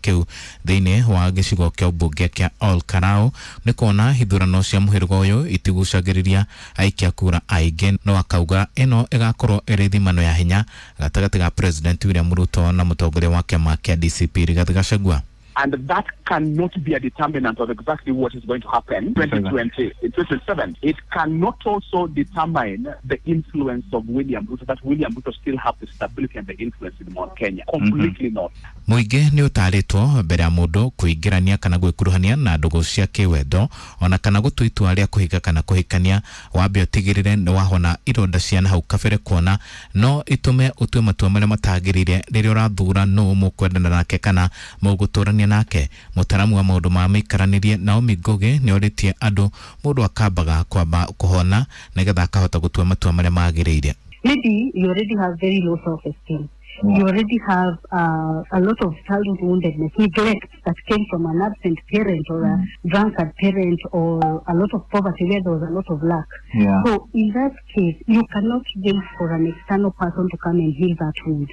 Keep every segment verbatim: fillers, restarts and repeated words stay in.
kĩu thĩinĩ wa gĩcigo kĩa ũmbunge kĩa Ol Kalou nĩ kuona ithurano cia mũhĩrĩga ũyũ itigucagĩrĩria aikia kura aingĩ. No akauga ĩno ĩgakorwo ĩrĩ thimano ya hinya gatagatĩ ga President William Ruto na mũtongoria wa kĩama kĩa D C P Rigathi Gachagua. And that cannot be a determinant of exactly what is going to happen twenty twenty, twenty twenty-seven. It cannot also determine the influence of William Ruto, that William Ruto still have the stability and the influence in Mount Kenya. Completely mm-hmm. not. Mũingĩ nĩ ũtarĩtwo mbere ya mũndũ kũingĩrania kana gwĩkuruhania na ndũgũ cia kĩwendo ona kana gũtua itua rĩa kũhika kana kũhikania, wambe ũtigĩrĩre nĩ wahona ironda cia na hau kabere, kuona no itume ũtue matua marĩa matagĩrĩire rĩrĩa ũrathura nũ mũkwendana nake kana mũgũtũrania nake. Mũtaramu wa maũndũ ma mĩikaranĩrie Naomi Ngugi nĩ orĩtie andũ mũndũ akambaga kwamba kũhona nĩgetha akahota gũtua matua marĩa magĩrĩire. Maybe you already have very low self-esteem. You already have uh, a lot of childhood woundedness, neglect that came from an absent parent or a drunkard parent, or a lot of poverty where there was a lot of lack. Yeah. So in that case, you cannot wait for an external person to come and heal that wound.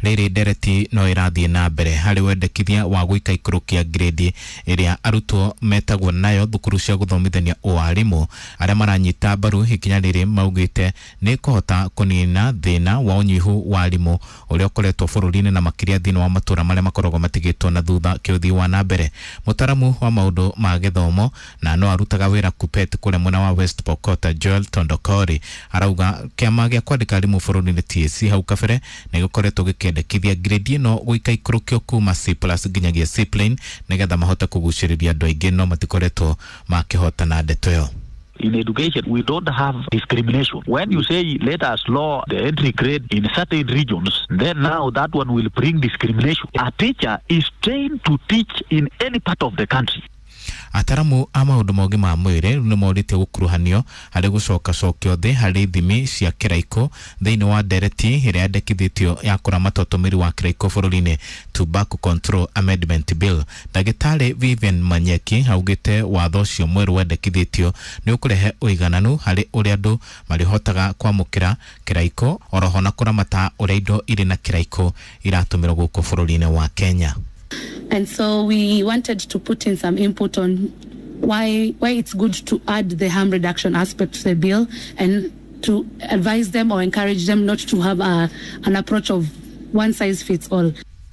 Rĩrĩ ndereti no ĩrathiĩ na mbere harĩ wendekithia wa gwĩka ikũrũkia grade ĩrĩa arutwo metagwo nayo thukuru cia gũthomithania ũarimũ. Arĩa maranyita mbaru ikinya rĩrĩ maugĩte nĩ kũhota kũnina thĩna wa ũnyihu wa arimũ ũrĩa ũkoretwo bũrũri-inĩ na makĩria thĩinĩ wa matũra marĩa makoragwo matigĩtwo na thutha kĩũthii wa na mbere. Mũtaramu wa maũndũ ma gĩthomo na no arutaga wĩra Kupet kũrĩa mwena wa West Pokot, Joel Tondokori, arauga kĩama gĩa kwandĩka arimũ bũrũri-inĩ T S C hau kabere nĩ gĩkoretwo gĩkĩendekithia grade ĩno gwĩka ikũrũkio kuma C plus nginyagia C plane nĩgetha mahote kũgucĩrĩria andũ aingĩ, no matikoretwo makĩhotana ndeto ĩyo. In education, we don't have discrimination. When you say, let us lower the entry grade in certain regions, then now that one will bring discrimination. A teacher is trained to teach in any part of the country. Ataramu a maũndũ ma ũgima wa mwĩrĩ nĩ morĩtie gũkuruhanio harĩ gũcokacokio thĩ harĩ ithimi cia kĩraikũ thĩinĩ wa ndereti ĩrĩa yandĩkithĩtio ya kũramata ũtũmĩri wa kĩraikũ bũrũri-inĩ, Tobacco Control Amendment Bill. Ndagĩtarĩ Vivian Manyeki augĩte watho ũcio mwerũ wendekithĩtio nĩ ũkũrehe ũigananu harĩ ũrĩa andũ marĩhotaga kwamũkĩra kĩraikũ oroho na kũramata ũrĩa indo irĩ na kĩraikũ iratũmĩrwo gũkũ bũrũri-inĩ wa Kenya. And so we wanted to put in some input on why why it's good to add the harm reduction aspect to the bill and to advise them or encourage them not to have a, an approach of one size fits all.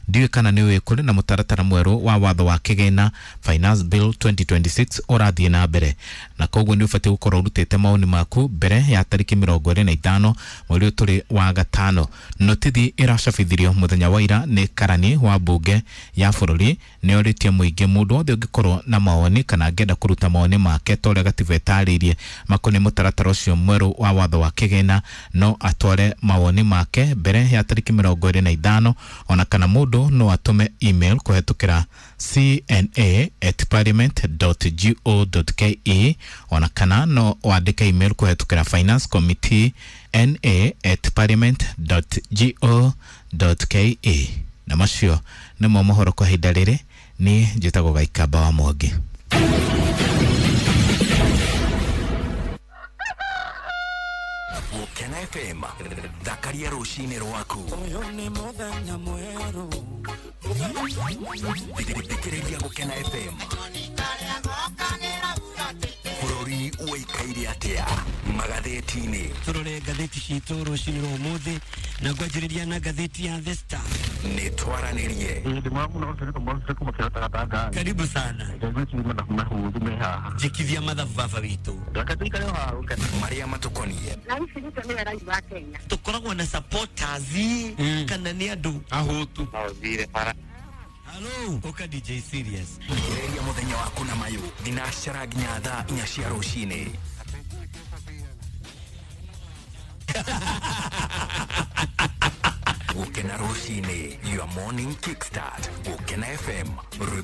Ndiũĩ kana nĩ ũĩ kũrĩ na mũtaratara mwerũ wa watho wa kĩgĩna Finance Bill twenty twenty-six ũrathiĩ na mbere, na koguo nĩ ũbatiĩ gũkorwo ũrutĩte maoni maku mbere ya tarĩki mĩrongo ĩrĩ na ithano mweri ũyũ tũrĩ wa gatano. Notithi ĩracabithirio mũthenya wa ira nĩ karani wa mbunge ya bũrũri nĩ orĩtie mũingĩ mũndũ wothe ũngĩkorwo na mawoni kana angĩenda kũruta mawoni make ta ũrĩa gatiba ĩtarĩirie makoniĩ mũtaratara ũcio mwerũ wa watho wa kĩgĩna no atware mawoni make mbere ya tarĩki mĩrongo ĩrĩ na ithano, ona kana mũndũ no atume email kũhetũkĩra c n a at parliament dot go dot k e, ona kana no wandĩke email kũhetũkĩra finance committee n a at parliament dot go dot k e. Na macio nĩmo mohoro kwa ihinda rĩrĩ. Niĩ njĩtagwo Gaikamba wa Mwangi. Gũkena F M, thakaria rũcinĩ rwaku. Thikĩrĩria Gũkena F M. Bũrũri ũikaire atĩa magathĩti-inĩ? Tũrore ngathĩti citũ rũcinĩ rwa ũmũthĩ na ngwanjĩrĩria na ngathĩti ya The Star. Nĩ twaranĩrie. Karibu sana. Jikithia mathabu baba witũ. Marĩa matũkoniĩ. Tũkoragwo na supporters kana nĩ andũ ahũtu. Hello, Oka D J Serious. Thikĩrĩria mũthenya waku na mayũ thinacara nginya thaa inya cia rũcinĩ. Gũkena rũcinĩ, your morning kickstart. Gũkena F M, rwĩmbo